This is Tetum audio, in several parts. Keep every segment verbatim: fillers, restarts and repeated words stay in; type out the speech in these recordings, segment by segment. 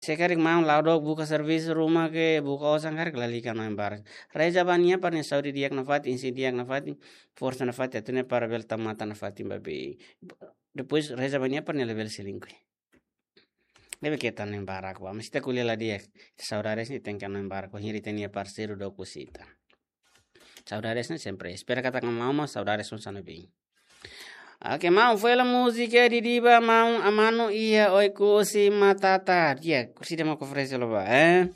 Se karik maun la'o dook buka servisu ruma ke buka osan karik lalika no embara. Reza ba nia para nia saúde di'ak nafatin, insi di'ak nafatin, forsa nafatin, atu nia para bele tau matan nafatin ba bee. Depois reza ba nia para nia labele selingkuh. Ne'ebé keta no embara ba. Mas ita ko'alia la di'ak. Saudades ne'e tenke no embara. Ha'u hiri ita-nia parseiru dook husi ita. Saudades ne'e sempre. Espera katak maun mós saudades hanesan ne'e bee. Oke, maun, foin hela múzika Didi ba maun Amanu iha Oekusi Matata. Di'ak, kursi demo konferénsia lo ba, eh?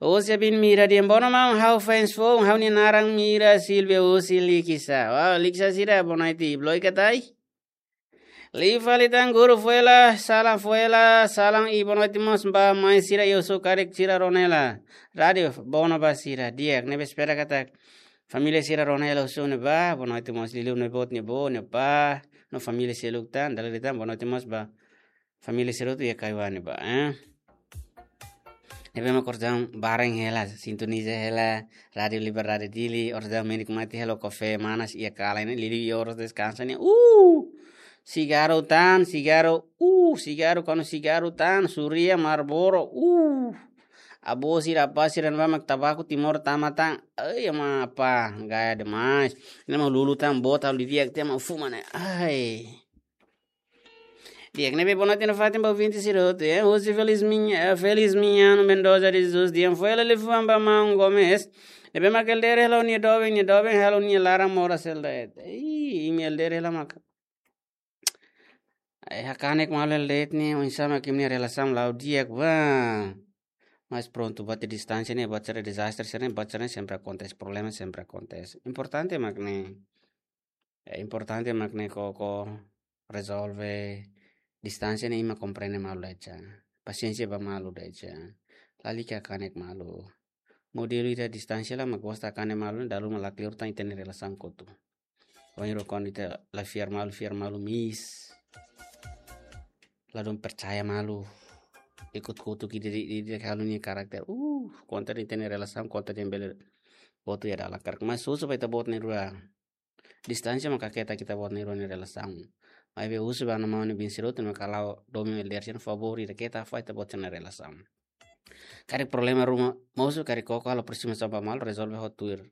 Husi Abin Mira dehan bono maun, ha'u fans foun, ha'u-nia naran Mira Silvia husi Likisá. Wow, Likisá sira, boa noite, bloika tai? Liu fali tan guru, foin hela, salam, foin hela, salam i boa noite mós ba mai sira, eu sou karik sira rona hela. Rádiu, bono ba sira, di'ak, ne'ebé espera katak família sira rona hela husu ne'ebá, boa noite mós liuliu ne'e boot ne'e bo, ne'e pá, no família seluk tan, dala ida tan, boa noite mós ba família sira hotu iha Kaiwani ba, eh. Ne'ebé mak oras daudaun bareng hela, sintoniza hela, Rádiu Liberdade Dili, oras daudaun menikmati hela kafé manas iha kalan ne'e, liuliu iha oras deskansa ne'e, uh, sigarru tan, sigarru, uh, sigarru, kanu sigarru tan, suria, Marlboro, uh. Avó sira, apá sira ne'ebá mak tabaku Timor tama tan, ai, ama apá, gaya demais. Ne'e mak lulu tan, bota, liu di'ak, tema fuma ne'e, ai. Di'ak, ne'ebé boa noite nafatin ba ouvinte sira hotu, eh? Husi Feliz Minha, eh, Feliz Minha no Mendoza de Jesus, dehan foin hela liafuan ba maun Gomes. Ne'ebé mak elder hela nia doben, nia doben hela nia laran moras hela de'it. Ih, imi elder hela mak. Eh, hakanek malu hela de'it ne'e, oinsá mak imi-nia relasaun la'o di'ak ba. Mas prontu, buat distánsia ne'e, buat sira dezastre sira ne'e, buat sira ne'e sempre akontese, problema sempre akontese. Importante mak ne'e. Eh, importante mak ne'e koko rezolve. Distánsia ne'e imi komprende malu de'it. Pasiénsia ba malu de'it. Lalika hakanek malu. Modelu ida distánsia la mak gosta hakanek malu, dala ruma la kleur tan ita-nia relasaun kotuk. Ohin rokon ita la fiar malu, fiar malu miss. Ladún percaya malu. Ikut kutuk ida, ida, ida, ida halo nia karakter. Uh, kontra ita-nia relasaun, kontra ita-nia bele boot iha dalan karik. Mas husu ba ita-boot na'in-rua. Distánsia maka keta ita-boot na'in-rua nia relasaun. Maibé husu ba maun Bin Sirut, maka la'o domin elder sira favór ida keta fó ita-boot sira nia relasaun. Karik problema ruma mosu, karik koko halo aproximasaun ba malu, rezolve ho tuir.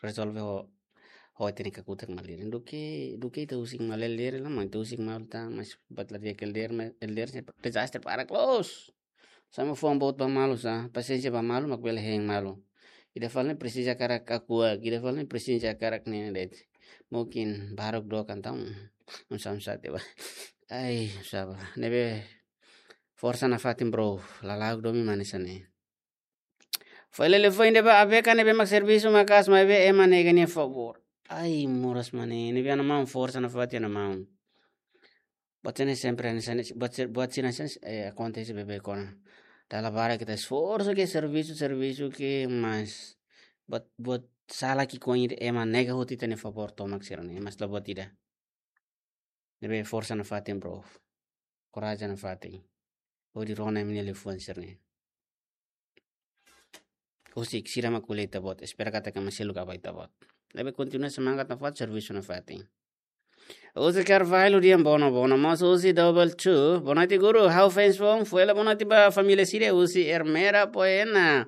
Rezolve ho, ho téknika kutak malu. Duké, duké ita husik malu elder la, maun ita husik malu tan, mas buat la di'ak elder, ma-, elder sira dezastre para close. Sama fuan boot ba malu sá, pasiénsia ba malu, mak bele hein malu. Ida fali ne'e presiza hakarak akuak, ida fali ne'e presiza hakarak ne'e de'it. Mungkin baruk dook entaun, oinsá, oinsá tiha ba. Ai, saba. Ne'ebé forsa nafatin bro, lala'ok domin mak hanesan ne'e. Foin hela liafuan ida ba Abeka ne'ebé mak servisu maka'as maibé ema nega nia favór. Ai, moras mak ne'e, ne'ebé ana maun forsa nafatin ana maun. Buat sira ne'e sempre hanesan ne'e, buat sira, buat sira hanesan ne'e, eh, akontese beibeik ona. Dala barak ita esforsu ke servisu, servisu ke mas buat, buat sala ki'ikoan ida ema nega hotu ita-nia favór tomak sira ne'e, mas la buat ida. Ne'ebé forsa nafatin bro. Korajen nafatin. Hodi rona imi-nia liafuan sira ne'e. Husik, sira mak ko'alia ita-boot, espera katak ema seluk apoia ita-boot. Ne'ebé kontinua semangat nafatin, servisu nafatin. Husi Carvalho dehan bono, bono mós husi Double Two. Boa noite guru, ha'u fans foun, foin hela boa noite ba família sira husi Ermera Poena.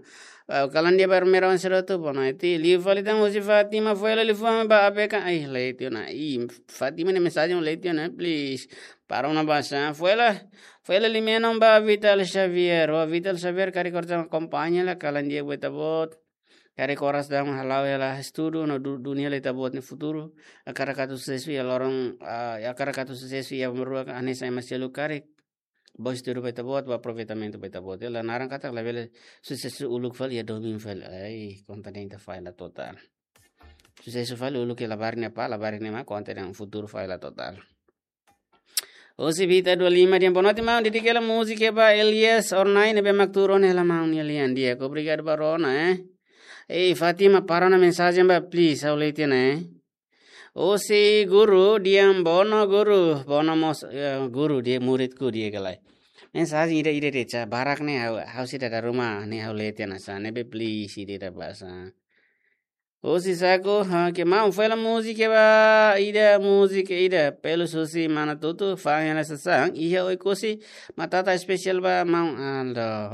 Ah, kalan di'ak ba Ermera oan sira hotu, boa noite. Liu fali tan husi Fátima, foin hela liafuan ba Abeka. Ai, la iha tiha ona. Ih, Fátima nia mensajen la iha tiha ona, please. Para ona basa. Foin hela, foin hela liafuan ba Vital Xavier. Ba Vital Xavier karik oras daudaun akompaña hela, kalan di'ak ba ita-boot. Karik oras daudaun hala'o hela estudu no du-, duni hela ita-boot nia futuru. Hakarak atu susesu iha loron, ah, hakarak atu susesu iha uma rua hanesan ema seluk karik. Bom estudu ba ita-boot, bom aproveitamentu ba ita-boot. Hela naran katak labele susesu uluk fali iha domin fali. Ai, konta de'it ita falla total. Susesu fali uluk iha labarik ne'e pá, labarik ne'e mak konta de'it futuru falla total. Husi Vita dua lima dehan boa noite maun, dedika hela múzika ba Elias Ornai ne'ebé mak tuur ona hela maun nia lian di'ak. Obrigadu ba rona, eh. Ei, Fátima, para ona mensajen ba, please, ha'u la iha tiha ona, eh. Husi guru dehan bono guru, bono mós, eh, guru dehan muridku di'ak ka lae. Mensajen ida-ida de'it sá, barak ne'e ha'u, ha'u sei dada ruma ne'e ha'u la iha tiha ona sá, ne'ebé please ida-ida basa. Husi Saku, ha, ke maun fela múzika ba ida, múzika ida. Pelus husi mana Tutu, fa'an hela sasán, iha Oekusi, matata espesiál ba maun Aldo.